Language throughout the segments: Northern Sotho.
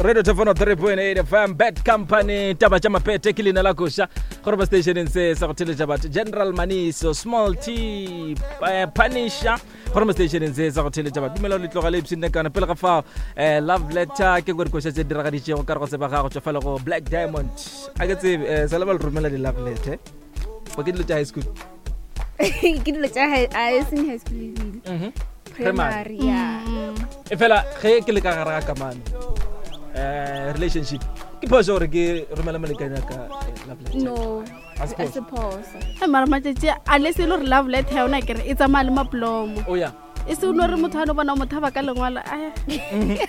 Radio Tefano 3.8 FM Bad Company taba tša mapete ke leina la koša gore ba stationeng se sa go theletša batho General Maniso Small T eh, Punisher gore mo stationeng se sa go theletša batho dumela le tloga le ipshinne kana pele ga fao eh, love letter ke gore koša tse diragaditšego ka re go tseba gago tšwa fela go Black Diamond a ke tsebe eh, sa le ba le romela di love letter ba ke dilo tša high school ke dilo tša high- a e seng high school ebile Mhm. primary ya e fela ge ke le ka gare ga kamano um relationship ke phoso gore ke romela molekane ya ka eh, love letter no A se a se phoso Eh, mara matšatši a le se e le gore love letter ya ona kere e tsamaya le maplomo o ya e se o no re motho a no bona motho a ba ka lengwalo a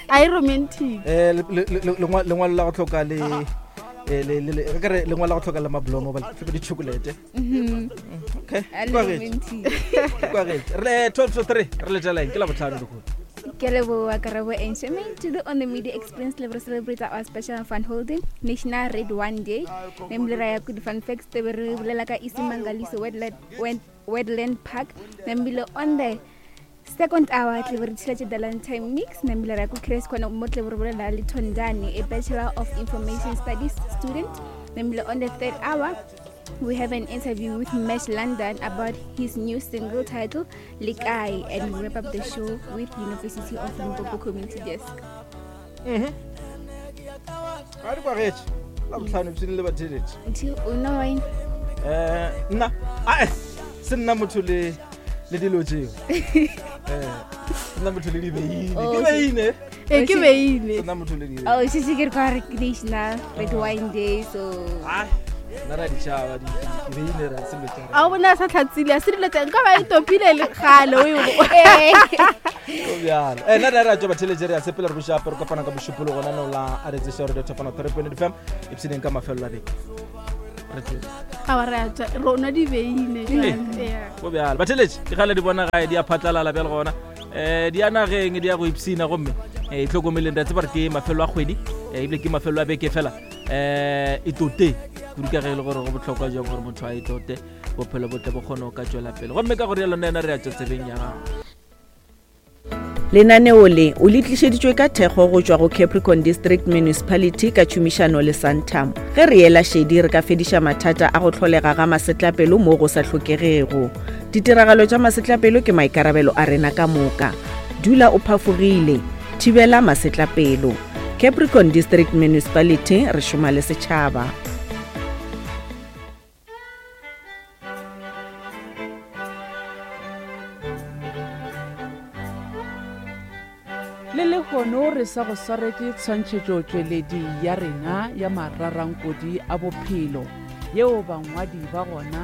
a e romantic Eh, le- le- le- lengwa- lengwalo la go tlhoka le eh, le- le- le- re ka re lengwalo la go tlhoka le mablomo ba tlhoka di-chocolate okay A le Kwagetše. romantic. Kwagetše. re le 12 to 3 re letšeleng ke la botlhano lekgono Ke leboha Karabo and Shemaine. Today on the Media Experience Level celebrate our special fun holding National Red One Day. Namely ra ya ku di fun facts tebe re bolela ka Isimangaliso Wetland, Wet- Wetland Park. Namely on the second hour tle be re tshilatše the lunchtime mix. Namely ra ya ku Curious Corner mo tle be re bolela le Thondani, a Bachelor of Information Studies student. Namely on the third hour we have an interview with Mesh London about his new single title Likai, and we wrap up the show with University of Limpopo Community Desk. ga di kwagetše la botlhano ipshine le batheletše Until o wine. um nna ae se nna motho le le dilo tseo Eh, se nna motho le dibeine Oh, ke beine e ke beile se nna motho le dibeine Oh, she she get National Red Wine Day, so Ai, nna ra ditšhaba dibeine ra selo tša a o bona a sa tlhatsile a se dilo tsa nka ba e topile le kgale o e Go bjalo Eh, nna re ra tswa batheletše re a sepela re bošape re kopana ka mošupologo lenaneo la a re tseša radio thapana 3.8 fm ipshineng ka mafelelo a beke re tswele ga ba re a tswa rona dibeine jwale. Yeah. go bjalo batheletše di gale di bona gae di a phatlalala bjale gona um di ya nageng di ya go ipshina gomme um itlhokomeleng re a tseba re ke mafelo a kgwedi eh, ebile ke mafelo a beke fela um e tote kudu ka ge e le gore go bohlokwa jang gore motho a e tote bophelo botle bo kgone go ka tswela pele gomme ka gore yalo nna ena re ya tswa tsebeng ya gago Lenaneo le o le tlišeditšwe ka thekgo go tšwa go Capricorn District Municipality ka tšhomišano le Santam. Ge re ela šedi re ka fediša mathata a go hlolega ga masetlapelo mo go sa hlokegego. Ditiragalo tša masetlapelo ke maikarabelo a rena ka moka. Dula o phafogile. Thibela masetlapelo. Capricorn District Municipality re šoma le setšhaba. Le lehono re sa go swaretše tshwantšhetšotšweledi ya rena ya mararankodi a bophelo yeo bangwadi ba gona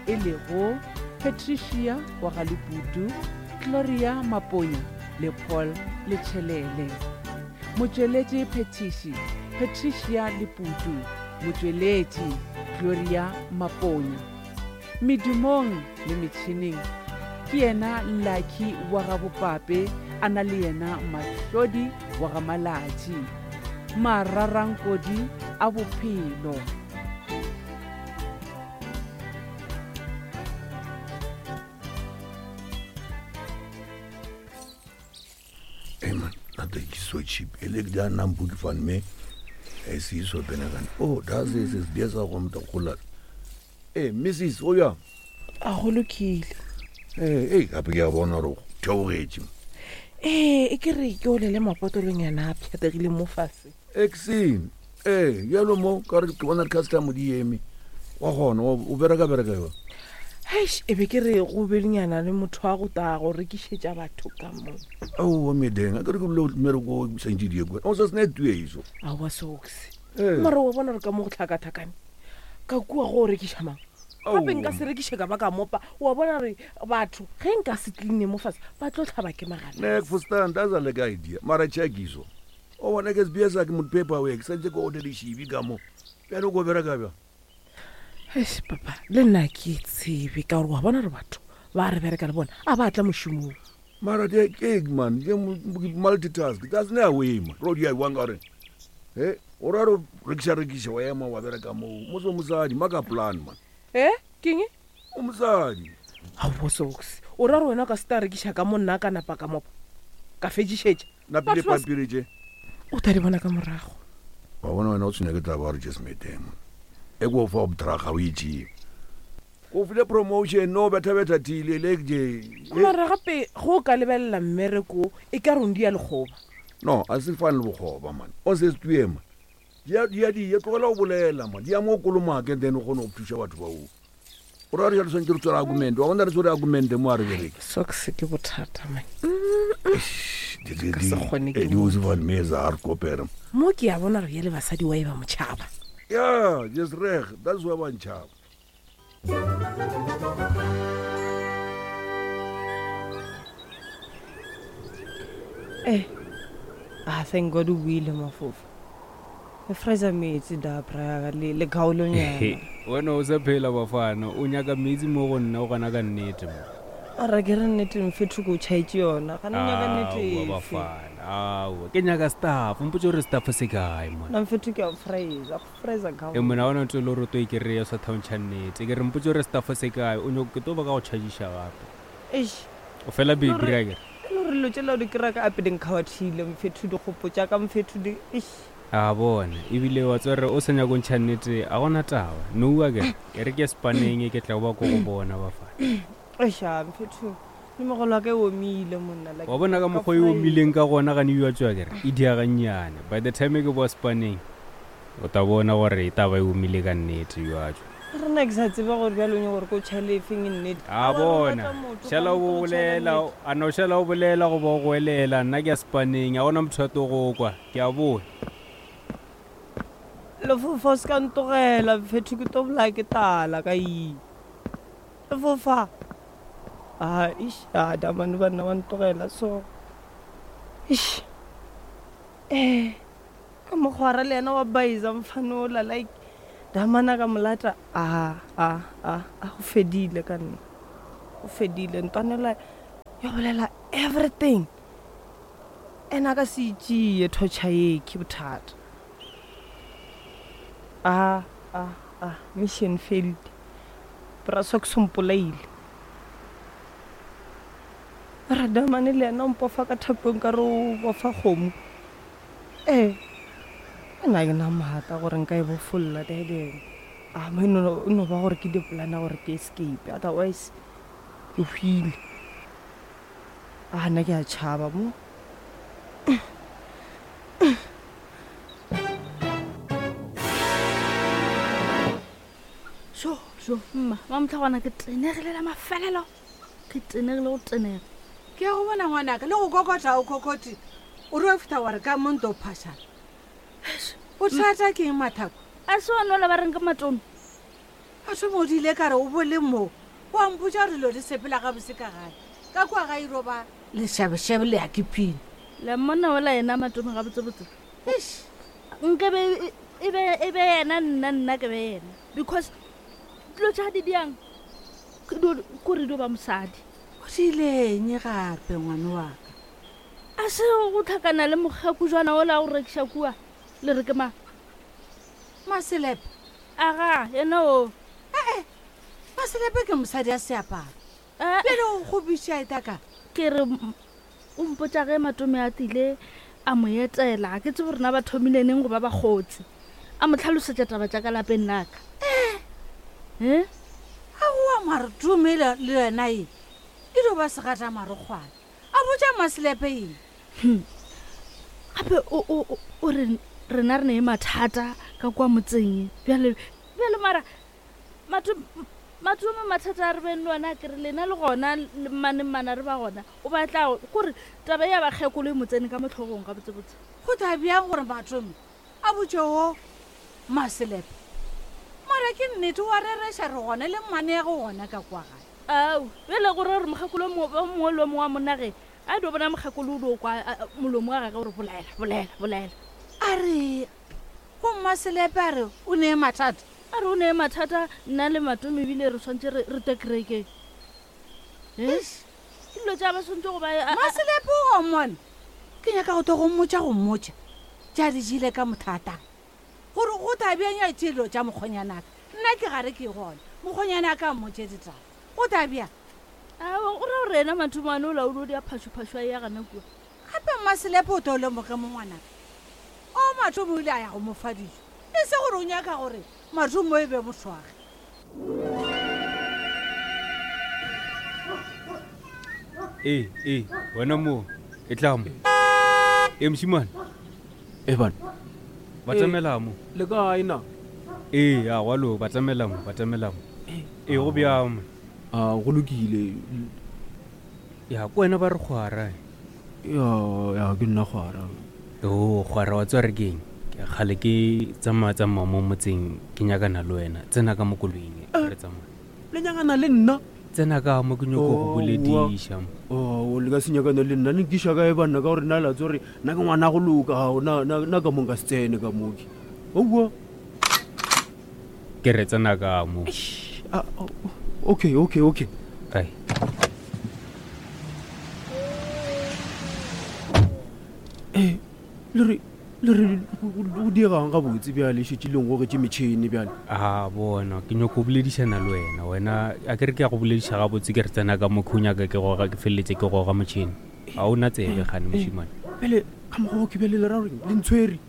e lego Patricia wa ga Leputu, Gloria Maponya le Paul Letšhelele. Motšweletši phethiši Patricia Leputu, motšweletši Gloria Maponya. Medumong le metšhineng ke yena Lucky wa ga Bopape a na le yena Mahlodi wa ga Malatši. Mararankodi a bophelo. Hey man, that is so cheap. Ele ke da nang book fan me. E se iso pena kan. Oh, that's is is biasa go mta gola. Hey, Mrs. O ya. A go lokile. Hey, hey, gape ke a bona gore o theogetše. Ee, e ke re ke olele mapotolong yana a pšhategile mo fase. Exin. Ee, bjalo mo ka gore ke bona di-customer di eme. Wa gona, o bereka bereka yo. Heish, e be ke re go belenyana le motho wa go tla go rekišetša batho ka mo. Aowa medeng, a ke re ke bile mmereko o santše di ye kwa. O sa sena tueiso. Aowa Sox. Ee. Mara wa bona re ka mo go tlhakathakane. Ka kua go o rekiša mang? Gape nka se rekiše ka ba ka mopa. Wa bona re batho ge nka se cleane mo fase ba tlo hlaba ke magala. Nek for stand, that's a like idea. Mara check iso. O bona ke sbs ke mo paperwork santse ke order dišibi ka mo. Bjale o ko bereka bjang? Eish papa, le nna ke tsebe ka gore wa bona re batho ba re bereka le bona a ba tla mošomong. Mara ke ke man, ke multitask. That's no way man. Ro di a iwang ka gore he o ra re rekiša rekiša wa ema wa bereka moo. Mo so mosadi maka plan man. Eh, keng? O mosadi. Aowa Sox, o ra gore wena o ka se ta rekiša ka mo nna ka napa ka mopa? Ka fetšišetša? Napile Batho ba pampiri tše. O ta di bona ka morago. Wa bona wena o tshwenya ke taba gore Jesmeteng. E ko fa obdraga o itšee. Go file promotion no betha betha thile le je. Mara gape go o ka lebelela mmereko e ka re o ndia lekgoba. No, a se fane le bokgoba man. O se stue man. Dia dia di tlogela go bolela man. Dia mo kolomake then o kgone go thuša batho ba o. O ra re re tshwanetse re tswela argument. Wa bona re tswela argument mo a re bereke. Socks ke bothata man. Di Ka se kgone ke di o se van me za re kopera. Mo ke a bona re ye le basadi wa e ba motšhaba. Yeah, just reg. That's why ba ntšhaba. Eh. Ah, thank God o buile mafofa. E freeza metsi da bra le le kgaolonyana. Wena o sa phela bafana, o nyaka metsi mo go nna o gana ka nnete mo. Ara ke re nnete mfethu ko tšhaetše yona. Gana o nyaka nnete Aowa efe? bafana, aowa. Ke nyaka staff, mpotše gore staff se kae mona. Nna mfethu ke a freeza, go freeza E ka. mona ona ntse le gore o to e kry-a o sa thaontšha nnete. Ke re mpotše gore staff se kae, o nyoko ke tlo ba ka go charge-iša gape. Eish. O fela baby Lore- ra kere. E le gore dilo tšela o di kry-a ka ape di nkgawathile mfethu dikgopo tša ka mfethu di eish. A bona, ebile wa tseba gore o sa nyako ntšha nnete a gona taba. Noua kere, e re ke spaneng ke tla ba ko go bona bafana. Eish a mfethu le mogolo wa ka e omile monna like Wa bona ka ka mokgwa e freeze. omileng ka gona gane yo a tswa kere, e dia gannyane. By the time ke boa spaneng, o ta bona gore e taba e omile ka nnete yo a tswa. Re nna ke sa tsebe gore bjalo o nyaka gore ke o tšhaele efeng e nnete. A Aowa, re bona, rata motho, šala ga o motho o tšhaela bolela, nnete. a no šala o bolela goba o goelela, nna ke a spaneng, a gona motho a tlo go kwa, ke a boa. Lefofa o se ka ntogela mfethu ke tlo bolaya ke tala ka eng. Lefofa. Ah, ish, ah, damane banna wa ntogela so. Ish. Eh, ka mokgwara le yena wa baisa mfanola like damana ka molata a a a a go fedile ka nna. Go fedile ntwanela ya bolela everything. Ena a ka se itšee torture ye ke bothata. A a a mission failed. Bra Socks o mpolaile. Radamane le yena o mpofa ka thapong ka re o bofa kgomo. Ee, nna ke na maatla gore nka e bofolla daddy. A mo e no e no ba gore ke di-plan-a gore ke escape otherwise ke hwile. A nna ke a tšhaba mo. Sho, sho, mma, mamotlhagwana ke tenegile la mafelelo. Ke tenegile go tenega. Ke ya go bona ngwanaka le go kokota o kokoti. O re o fihla wa re ka mo nto phašana. O thata ke eng mathako? A se one ola ba reng ke matome. A thoma o dile ka re o bole mo. Wa mpotša gore dilo di sepela gabotse ka gae. Ka kua ga iro ba lešebešebe le ya ke phine. Le mmona ola yena matome gabotsebotse. Eish. Nke be e be e be yena nna nna ke be yena. Because dilo tša di diang ke kore dio ba mosadi. O diileng gape ngwane wa ka? A se go tlhakana le mokgekujwana ola o rekiša kua le re ke mang? Maselepe. Aga, yena o. Ee, Maselepe ke mosadi a seaparo. Bjale o kgopiša e taka. Ke re o mpotša ge matome a tile a mo etela, ke tsebe rena ba thomile neng go ba bakgotsi. A mo tlhalosetša taba tša ka lapeng la ka. Eh? Aowa Marotome le yena e e dio ba segata marokgwana. A botša Maselepe eng? Gape o re rena re ne mathata ka kwa motseng. Bjale bjale mara matome mathata a re beng le ona ke re lena le gona le mmane mmana re ba gona. O batla gore taba ya bakgekolo e mo tsene ka mo hlogong gabotsebotse. Go tla bjang gore Matome a botše wo Maselepe? Mara ke nnete wa rereša re gona le mmane ya go gona ka kwa gae. Ao, bjale gore gore mokgekolo o mongwe le o mongwe wa monna ge a dio bona mokgekolo o dio kwa molomo wa gagwe gore bolela, bolela, bolela. A re go Mmaselepe a re o nee mathata? A re o nee mathata nna le Matome ebile re tshwanetse re te kerekeng. Eh? Dilo tša ba tshwanetse go ba Mmaselepe o mmone. Ke nyaka go tlo go mmotša go mmotša. Tša di jele ka mothata. Gore go tla bjang ya tše dilo tša mokgonyanaka. Nna ke gare ke gona. Mokgonyanaka a mmotše ditaba. Go tla bjang? Aowa, o ra gore yena Matome ane o laolo o dia phašophašo a ya gana kua. Gape Mmaselepe o tlo lemoge mo ngwanaka. Mathomo o ile a ya go mo fa dijo, e se gore o nyaka gore Mathomo e be mothwage. Ee, ee, wena mo, e tla mo. Ee, mošimane. E bana. Batamela mo. Le kae na? Ee, a gwa lo, batamela mo, batamela mo. Ee, go bjang mo? A go lokile. Ya, ko wena ba re kgwara. Ya, ya ke nna kgwara. O kgwara wa tswa re keng? Ke kgale ke tsamaya tsamaya mo motseng ke nyakana le wena. Tsena ka mo koloing re tsamaya. Le nyakana le nna? Tsena ka mo ke nyoko go bolediša. O le ka se nyakana le nna, ne nkiša kae banna ka gore nna la tswa gore nna ke ngwana go loka, ao na na na ka mo nka se tsene ka mo ke. Aowa. Ke re tsena ka mo. Okay, okay, okay. Ai. Eh, le re le re go diegang gabotse bjale šetše le ngogetše metšhene bjale. A bona ke nyoko boledišana le wena wena a ke re ke ya go bolediša gabotse ke re tsena ka mo ke o nyaka ke goga ke feleletse ke goga motšhene ga o na tsebe gane mošimane. Bjale ka mokgwa wo ke bjale le ra goreng le ntshwere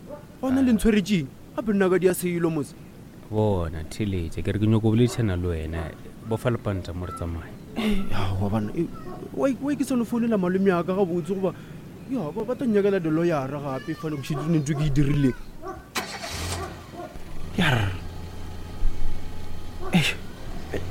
gona le ntshweretšeng gape nna ka dia selo mose. Bona theletše ke re ke nyoko boledišana le wena bofa lepanta mo re tsamaye. Aowa banna why ke sa no founela malome a ka gabotse goba ya ba ba tla nnyakela diloyara gape fa le go šetše ntho ke e dirileng. Yarr. Eish,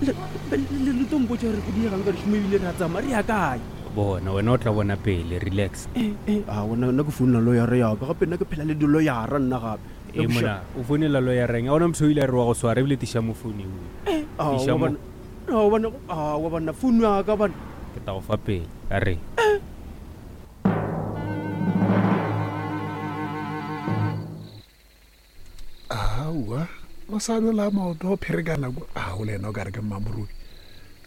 le le le tlo mpotša gore go diegang ka dišomo ebile re a tsamaya re ya kae? Bona wena o tla bona pele relax. Eh, eh, aowa nna nna ke founela loyara ya ka gape nna ke phela le diloyara nna gape. E mona o founela loyara eng? A gona motho o ile a re wa go swara ebile tiša mo founu eo. Tiša Aowa mo. banna, aowa banna, aowa banna, founu ya ka banna. Ke tla go fa pele a re. Aowa, mosadi o la maoto o pherekana kwa. A o le yena o ka re ke mmamorubi.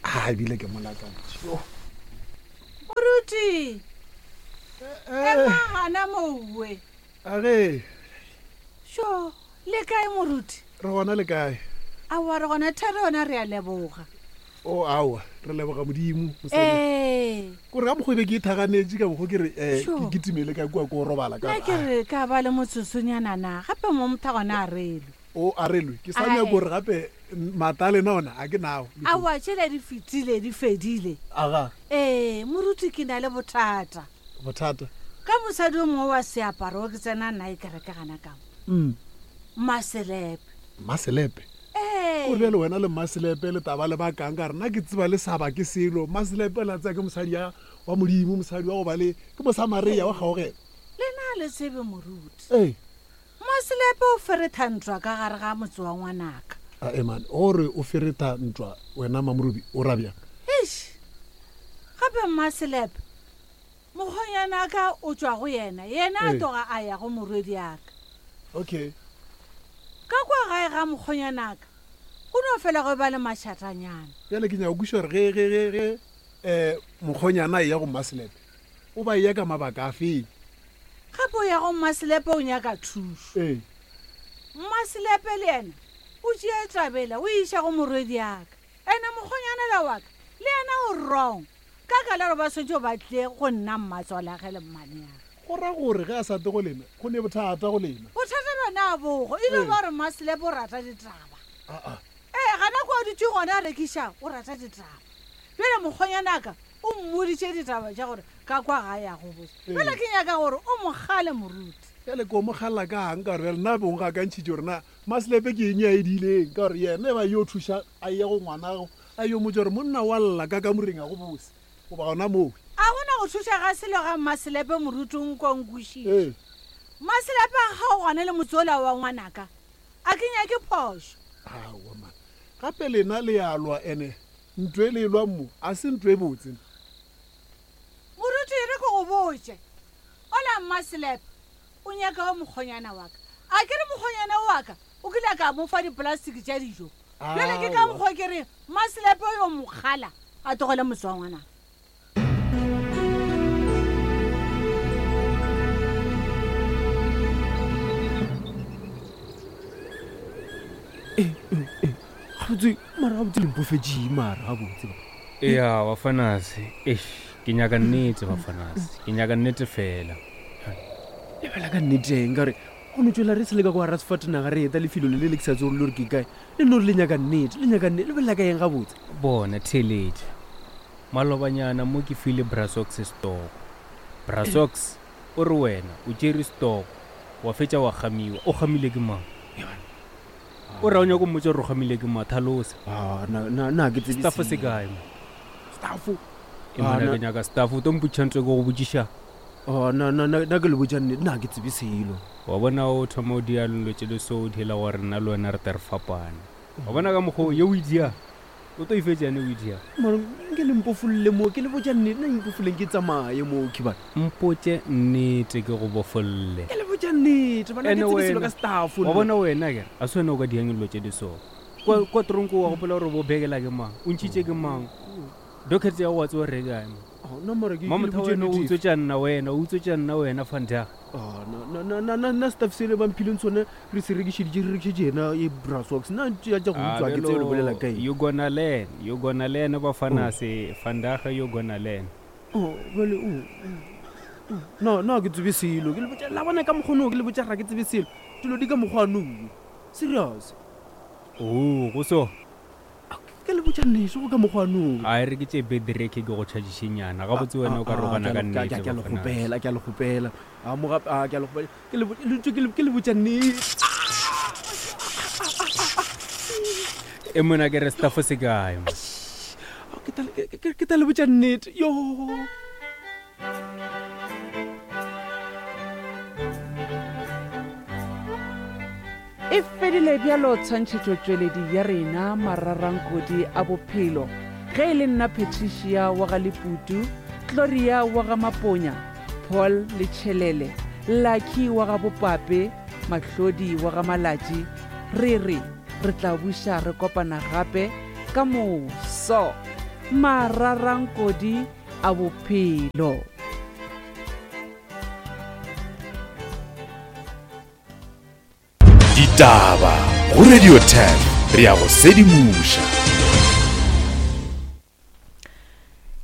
A ebile ke molakantši. Yo. Moruti! Ema gana mowe. A ge. Sho, le kae moruti? Re gona le kae? Aowa re gona thari yona re a leboga. O aowa, re leboga Modimo. Mosadi. Ee. Kore ka mokgwa e be ke ithaganetše ka mokgwa ke re eh, Sure. ke kitimele ka kua ko robala ka Nna ke re ka ba le motsotsonyana na gape mo motho gona a relwe. O a relwe. Ke sa Ae. nyako gore gape mata a lena ona a ke nao. Aowa tšela di fetile di fedile. Aga. Ee, moruti ke na le bothata. Bothata. Ka mosadi o mongwe wa seaparo o ke tsena nae kereke gana ka mo. Mmaselepe. Mmaselepe? Ee. O re bjale wena le Mmaselepe le taba le bakang ka re nna ke tseba le sa bake selo. Mmaselepe la tseba ke mosadi ya wa Modimo, mosadi wa go ba le ke Mosamaria wa kgaogelo. Le na le tsebe moruti. Ee. Mmaselepe o feretha ntwa ka gare ga motse wa ngwanaka. Ae man, o re o feretha ntwa wena Mamorubi o ra bjang? Eish. Gape Mmaselepe Mokgonyanaka o tšwa go yena, yena a Ee. tloga a ya go morwediaka. Okay. Ka kwa gae ga mokgonyanaka go no fela go ba le mašatanyana. Bjale ke nyaka go kwešiša gore ge, ge, ge, ge um mokgonyana a eya go Mmaselepe, o ba eya ka mabaka a feng? Gape o ya go Mmaselepe o nyaka thušo. Ee. Mmaselepe le yena o tšea tabela o e iša go morwediaka. Ene mokgonyana la wa ka le yena o wrong. Ka ka la gore ba swanetše ba tle go nna mmatswalage le mmaneage. Go ra gore ge a sa tle go lena, go ne bothata go lena. Bothata bjona a bogo, e no ba gore Mmaselepe o rata ditaba. Ee, gana kwa a dutše gona a rekiša, o rata ditaba. Bjale mokgonyanaka o mmoditše ditaba tša gore ka kwa ga ya go botša. Bjale ke nyaka gore o mo kgale moruti. Bjale ke o mo kgalela kang ka gore bjale nna bong ga ka ntšhitše gore na Mmaselepe ke eng ye a e diileng ka gore yena e ba yo thuša a ye go ngwanago A yo motša gore monna wa lla ka kamoreng a go bose goba gona mowe. A go na go thuša ga selo ga Mmaselepe moruti o nkwa o nkwešiše. Ee. Mmaselepe a kgaogane le motse ola wa ngwanaka. A ke nyake phošo. Aowa man. Gape lena le a lwa ene ntwa e le e lwang mo a se ntwa e botse. Moruti e re ke go botše. Ola Mmaselepe o nyaka wa mokgonyana wa ka. A ke re mokgonyana wa ka o kile a ka mo fa dipolastiki tša dijo. Bjale ke ka mokgwa ke re Mmaselepe yo mokgala a tlogele motse wa ngwanaka. Gabotse mara gabotse le mpofetšeng mara gabotse ba. Ya bafanase, eish ke nyaka nnete bafanase, ke nyaka nnete fela. Lebela ka nnete eng ka gore Go no tšwela re sele ka kwa gara sefatanaga re eta lefelo le le le ke sa tsebe le gore ke kae. Le no re le nyaka nnete, le nyaka nnete, le bolela ka eng gabotse? Bona, theeletša. Malobanyana mo ke file Brasox setoko. Brasox, o re wena o tšere setoko, wa fetša wa kgamiwa. O kgamile ke mang? O ra o nyaka go mmotša gore o kgamile ke mang? Thalosa. Ah, na, na, na ke tsebe Staff se selo. kae mo? Staff? E Ah, mona na- ke nyaka staff, o tlo mpotšiša ntho e ke go botšiša. Ah, na, na, na, na ke le botša nnete, na ke tsebe selo. Wa bona o thoma o dia dilo tše di so o diela gore nna le wena re tle re fapane. Wa bona ka mokgwa o ye o e dia, o tlo e fetša yane o e dia. Mara nke le mpofolle mo, ke le botša nnete, na mpofoleng ke tsamaye mo, khibana. Mpotše nnete ke go bofolle. Ke le botša nnete, bana, ke Ene tsebe selo wena, ka staff. wa bona wena kere, a se wena o ka diang dilo tše di so. Kwa, kwa tronko wa gopola gore bo bekela ke mang, o ntšhitše ke mang, docket ya go wa tseba gore e kae mo. Oh, na mara ke- ke le Mamotha botše wena o nnete. utswetša nna wena, o utswetša nna wena Vandag. Ah, na, na, na, na, na, na staff sele ba mphileng sone re se rekišeditše re rekišetše yena e brasox nna tšea tša go Ah, utswa ke tsebe le bolela bjalo, ka eng you gonna learn, you gonna learn bafana se, Vandag you gonna learn. Oh, bjale, oh, oh, oh, na na ke tsebe selo ke le botša la bona ka mokgonoo ke le botša ga ke tsebe selo dilo di ka mokgwanoo serious Oh, go so. Ke le botša nneso go ka mokgwanoo A e re ke tše bedireke ke go tšhatšišenyana gabotse wena o ka rogana ka nnete ke a le bafana. kgopela ke a le kgopela a mo gape a ke a le kgopela ke le botša- le ntse ke le- ke le botša nnete E mona ke re staff se kae mo? Ke tla le- ke- ke- ke tla le botša nnete yo E fedile bjalo tshwantšhetšotšweledi ya rena Mararankodi a Bophelo. Ge e le nna Patricia wa ga Leputu, Gloria wa ga Maponya, Paul le Tšhelele, Lucky wa ga Bopape, Mahlodi wa ga Malatši, re re re tla buša re kopana gape ka moso. Mararankodi a Bophelo. Ditaba go Radio 10 re a go sedimoša.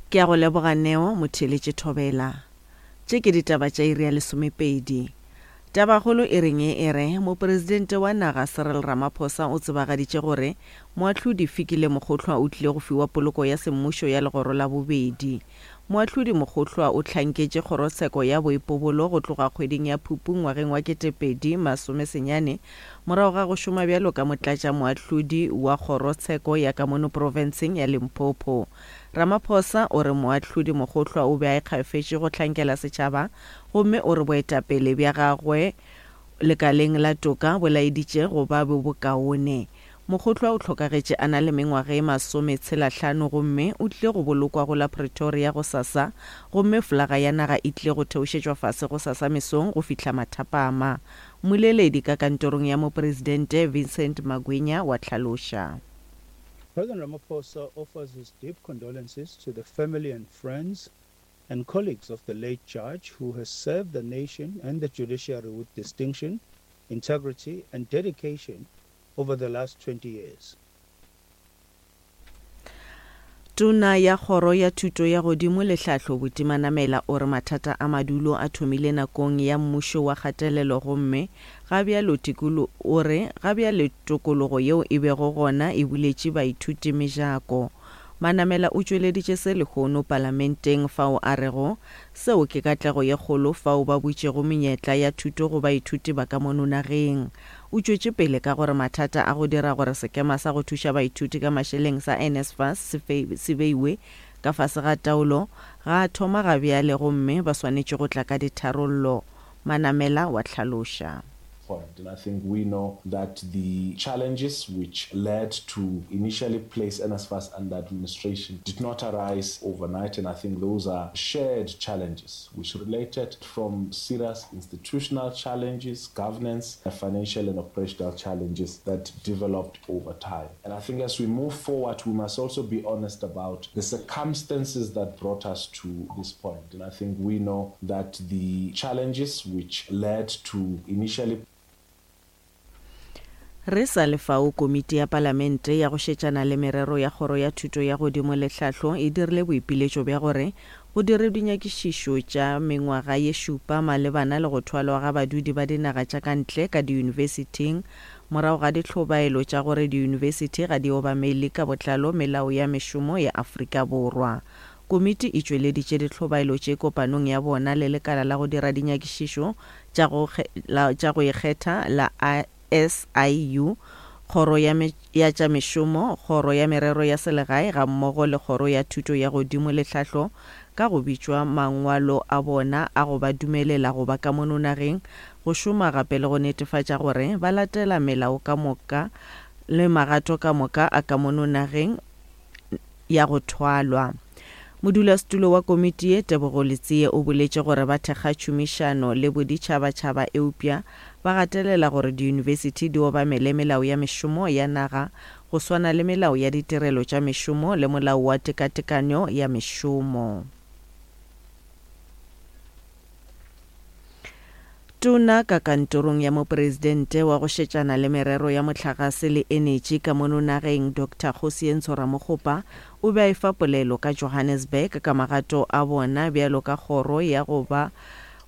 Ke a go leboga Neo motheeletše Thobela. Tše ke ditaba tša iri ya lesomepedi. Tabakgolo e reng e re, Mopresidente wa naga Cyril Ramaphosa o tsebagaditše gore Moahlodi Fikile Mokgohlwa o tlile go fiwa poloko ya semmušo ya legoro la bobedi. Moahlodi Mokgohlwa o hlanketše kgorotsheko ya boipobolo go tloga kgweding ya Phupu ngwageng wa 2019 morago ga go šoma bjalo ka motlatšamoahlodi wa kgorotsheko ya ka mono profenseng ya Limpopo. Ramaphosa o re Moahlodi Mokgohlwa o be a ikgafetše go hlankela setšhaba gomme o re boetapele bja gagwe lekaleng la toka bo laeditše go ba bjo bokaone. Mokgohlwa o hlokagetše a na le mengwaga e masometshelahlano gomme o tlile go bolokwa go la Pretoria gosasa gomme folaga ya naga e tlile go theošetšwa fase gosasa mesong go fihla mathapama. Mmoleledi ka kantorong ya Mopresidente Vincent Magwenya wa hlaloša. President Ramaphosa offers his deep condolences to the family and friends and colleagues of the late judge who has served the nation and the judiciary with distinction, integrity and dedication over the last 20 years. Tona ya Kgoro ya Thuto ya Godimo le Tlhahlo Buti Manamela o re mathata a madulo a thomile nakong ya mmušo wa kgatelelo gomme ga bjalo tikolo o re ga bjale tokologo yeo e bego gona e buletše baithuti mejako. Manamela o tšweleditše se lehono Palamenteng fao a rego seo ke katlego ye kgolo fao ba butšego menyetla ya thuto go baithuti ba ka mono nageng. O tšwetše pele ka gore mathata a go dira gore sekema sa go thuša baithuti ka mašeleng sa NSFAS se beiwe ka fase ga taolo ga a thoma ga bjale gomme ba swanetše go tla ka ditharollo, Manamela wa hlaloša. Point. And I think we know that the challenges which led to initially place NSFAS under administration did not arise overnight, and I think those are shared challenges which related from serious institutional challenges, governance, financial and operational challenges that developed over time. And I think as we move forward, we must also be honest about the circumstances that brought us to this point. And I think we know that the challenges which led to initially. Re sa le fao, Komiti ya Palamente ya go šetšana le merero ya Kgoro ya Thuto ya Godimo le Tlhahlo e dirile boipiletšo bja gore go dirwe dinyakišišo tša mengwaga ye šupa malebana le go thwalwa ga badudi ba dinaga tša ka ntle ka diyunibesithing morago ga dihlobaelo tša gore diyunibesithi ga di obamele ka botlalo melao ya mešomo ya Afrika Borwa. Komiti e tšweleditše dihlobaelo tše kopanong ya bona le lekala la go dira dinyakišišo tša go ikgetha la SIU, Kgoro ya ya tša Mešomo, Kgoro ya Merero ya Selegae gammogo le Kgoro ya Thuto ya Godimo le Tlhahlo ka go bitšwa mangwalo a bona a go ba dumelela go ba ka mono nageng go šoma gape le go netefatša gore ba latela melao ka moka le magato ka moka a ka mono nageng ya go thwalwa. Modulasetulo wa komiti ye, Tebogo Letsie o boletše gore ba thekga tšhomišano le boditšhabatšhaba eupša ba gatelela gore diyunibesithi di obamele melao ya mešomo ya naga go swana le melao ya ditirelo tša mešomo le molao wa tekatekanyo ya mešomo. Tona ka kantorong ya Mopresidente wa go šetšana le merero ya mohlagase le enetši ka mono nageng Doctor Kgosientsho Ramokgopa o be a efa polelo ka Johannesburg ka magato a bona bjalo ka kgoro ya go ba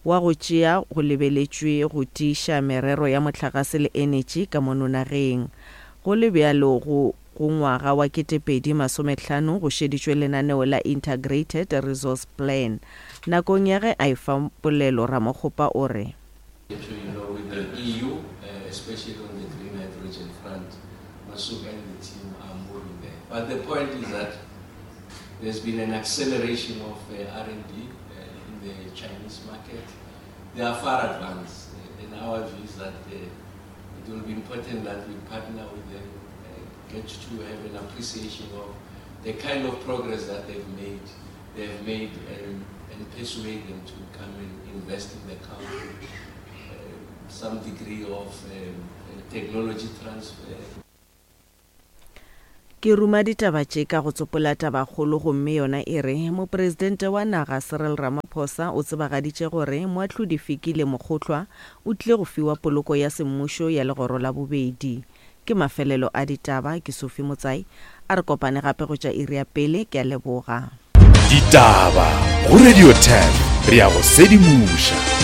wa go tšea go lebeletšwe go tiiša merero ya mohlagase le enetši ka mono nageng. Go le bjalo go Go ngwaga wa 2050 go šeditšwe lenaneo la Integrated Resource Plan. Nakong ya ge a efa polelo Ramokgopa o re. I'm sure you know with the EU, especially on the green hydrogen front, Masuka and the team are moving there. But the point is that there's been an acceleration of R&D in the Chinese market. They are far advanced, and our view is that it will be important that we partner with them, get to have an appreciation of the kind of progress that they've made, they've made and, and persuade them to come and invest in the country. Uh, some degree of um, technology transfer. Ke ruma ditaba tše ka go tsopola tabakgolo gomme yona e re, Mopresidente wa naga Cyril Ramaphosa o tsebagaditše gore Moahlodi Fikile Mokgohlwa o tlile go fiwa poloko ya semmušo ya legoro la bobedi. Ke mafelelo a ditaba, ke Sophie Motsai. A re kopane gape go tša iri ya pele, ke a leboga. Ditaba go Radio 10 re a go sedimoša.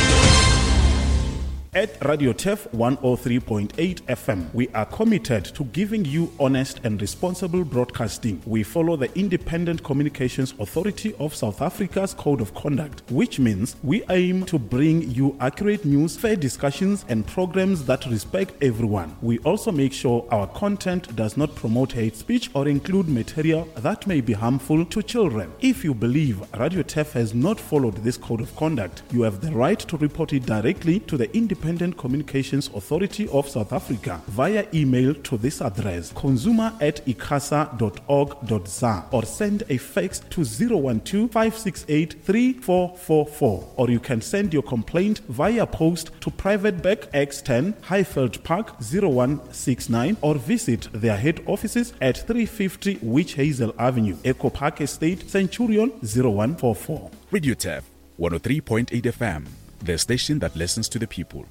At Radio Turf 103.8 FM, we are committed to giving you honest and responsible broadcasting. We follow the Independent Communications Authority of South Africa's Code of Conduct, which means we aim to bring you accurate news, fair discussions, and programs that respect everyone. We also make sure our content does not promote hate speech or include material that may be harmful to children. If you believe Radio Turf has not followed this code of conduct, you have the right to report it directly to the Independent Communications Authority of South Africa via email to this address consumer at icasa.org.za or send a fax to 012 568 3444 or you can send your complaint via post to Private Bank X10 Highveld Park 0169 or visit their head offices at 350 Witch Hazel Avenue, Echo Park Estate, Centurion 0144. Radio Tef 103.8 FM, the station that listens to the people.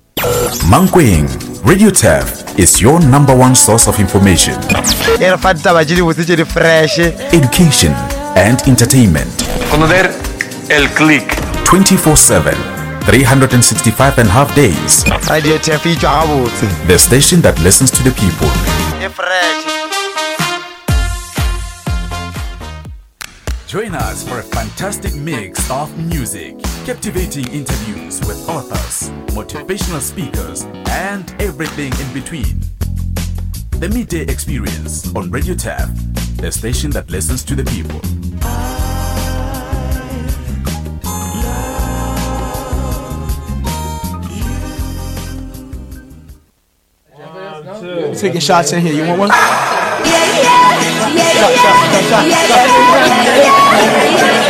Mankweng, Radio Tef is your number one source of information. E re fa ditaba tše dibotse tše di fresh. Education and entertainment. Conocer el click. 24/7, 365 and half days. Radio Tef e tšwa gabotse. The station that listens to the people. E fresh. Join us for a fantastic mix of music, captivating interviews with authors, motivational speakers, and everything in between. The Midday Experience on Radio Tap, the station that listens to the people. Taking shots in here. You want one? Yeah, yeah, yeah, yeah, yeah, yeah, yeah, yeah.